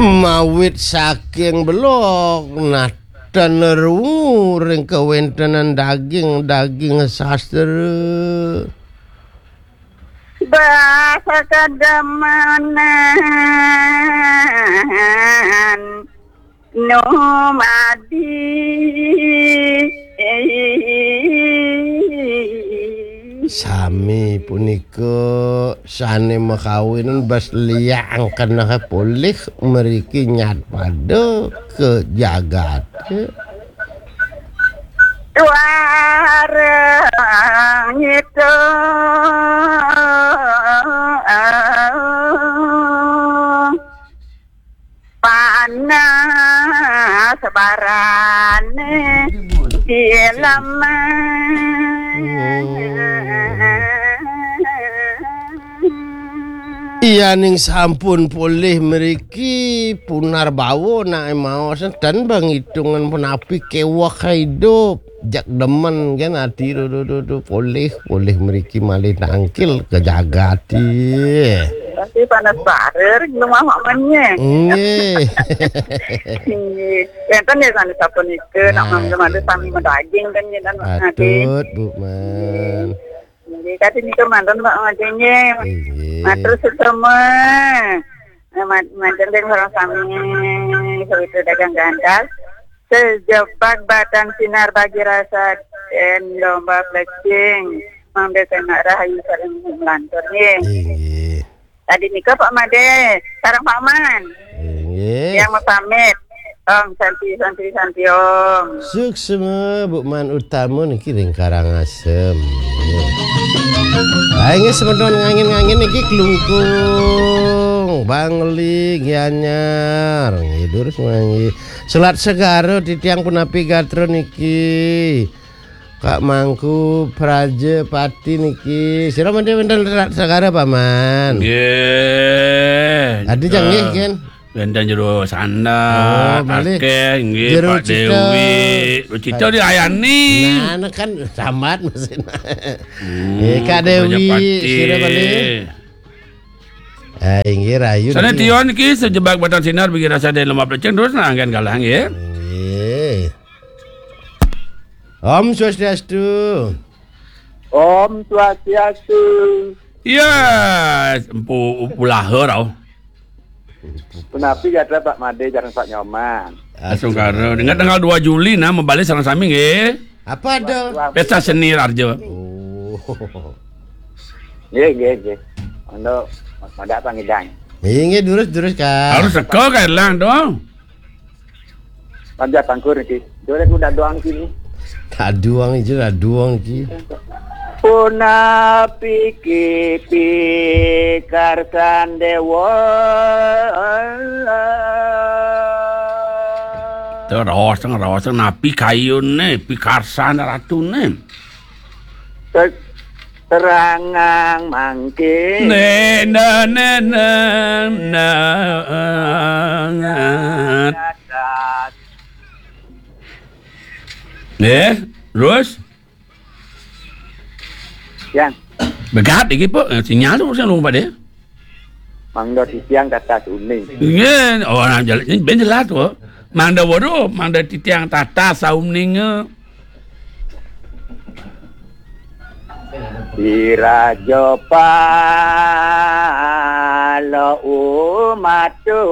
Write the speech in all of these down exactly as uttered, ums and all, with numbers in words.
Mawit saking belog, naten rungu ring kawéntenan daging-daging sastra. Basa kademenan numadi. Sami punika sané makawinan bas liang keneh polih mriki nyat pada ka jagaté. Tuareng itu panas barane di lemah. Yaning sampun polih mriki, punar bawa nak maos, ten bang hitungan punapi kewah idup. Jak demen kan ati, duh, duh, duh, duh, polih, polih mriki malih nangkil ke jagati. Tapi panas barer, belum apa menye. Nggih. Nggih. Wénten ya sané sapunika, nak mangga-mangga sami madaging kan nggih, dan Mas Adi. Patut, Bu Man. Nggih, kadi nika mantun, Pak Madé, nggih. Inggih. Matur suksma. Nah, ma-, manten ring sareng sami, sawitra dagang gandal. Sejebak batang sinar bagi rasa dan lomba plecing. Mangda semak rahayu sareng melantur, nggih. Inggih. Tadi nika Pak Madé, sareng Pak Man. Inggih. Yang mau pamit. Om Santi, Santi, Santi, Om. Suksma, Bu Man Utama niki ring Karangasem. Nggih. Ayo, nggih, semeton ngangin-ngangin niki Klungkung, Bangli, Gianyar. Nggih, durus manggi. Selat Segara titiang punapi gatra niki. Kak Mangku, Praja Pati niki. Sira mendhe wénten Selat Segara, Paman? Nggih. Adi jang nggih, Ken? Wénten Jero Sandar, Oh, malih. Akeh, nggih, Jero Pak Cita. Dewi. Jero Cita diayani. Nah, nah kan sambat mesin. Hmm, Nggih, Kak Dewi, Prajapati. Sira malih. Ah, inggih rayu Sané niki. Tion niki sejebak batang sinar bagi rasa dan lemah plecing terus nah anggen kalah nggih. Nggih. Om Swastiastu. Om Swastiastu. Iya, empu, empu lahar, au. Punapi gatra Pak Madé sareng Pak Nyoman? Asungkara. Dengan tanggal dua Juli nah, mabali sareng sami nggih. Apa ada? Pesta seni Raharja. Oh. Nggih, nggih, nggih. Untuk Mas Moda apa ngidang? Nggih, nggih, durus, durus, Kak. Harus teka, Kak Erlang, dong. Panjat Tangkur niki. Dole ku dadoang kini. Dadoang iki, dadoang iki. Punapi ki pikarsan dewa. Terus, terus, napi kayune, pikarsan ratune. Te-, terangang mangke. Ne, ne, ne, ne, ne. Nggih, terus? Yang. Begat iki, Pak. Sinyal tu sing lupa deh. Mangda titiang tatas uning. Nggih, oh, nah, jel-, ini ben jelas tu. Mangda waduh, mangda titiang tatas sauning. Iraja pala umatu.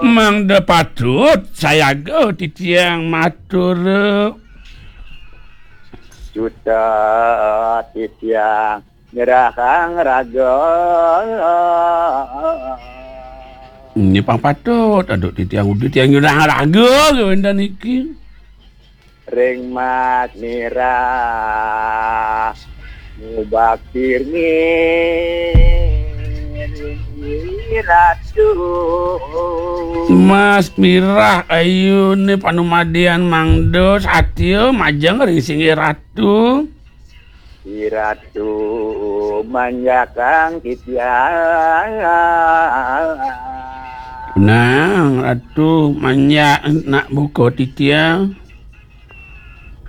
Mangda patut sayaga titiang matur. Juta titiang nyerahang raga. Ini pang patut, aduh, titiang udah titiang nyerahang raga, kewénten iki. Ring Mas Mirah, mubakti ring Ratu. Mas Mirah, ayune panumadian mangda satya majeng ring singgih Ratu. Si Ratu manjakang titiang. Nang Ratu manjak nak buka titiang.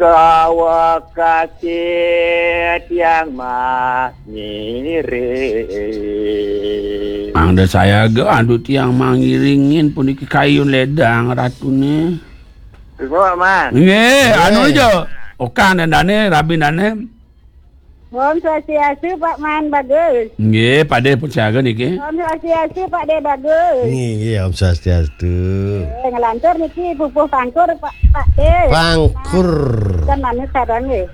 Kawekasi tiang mas ngiring. Angda sayaga, aduh tiang mangiringin puniki kayun ledang ratune. Ibu, Paman. Nggih, anu aja. Okan dan dane, rabin dane. Om Swastiastu, Pak Man Bagus. Nggih, Pak De pun siaga niki. Om Swastiastu, Pak De Bagus. Nggih, nggih, Om Swastiastu. Eh, ngelantur niki pupuh pangkur, Pak, Pak De. Pangkur. Kan manut sareng nggih.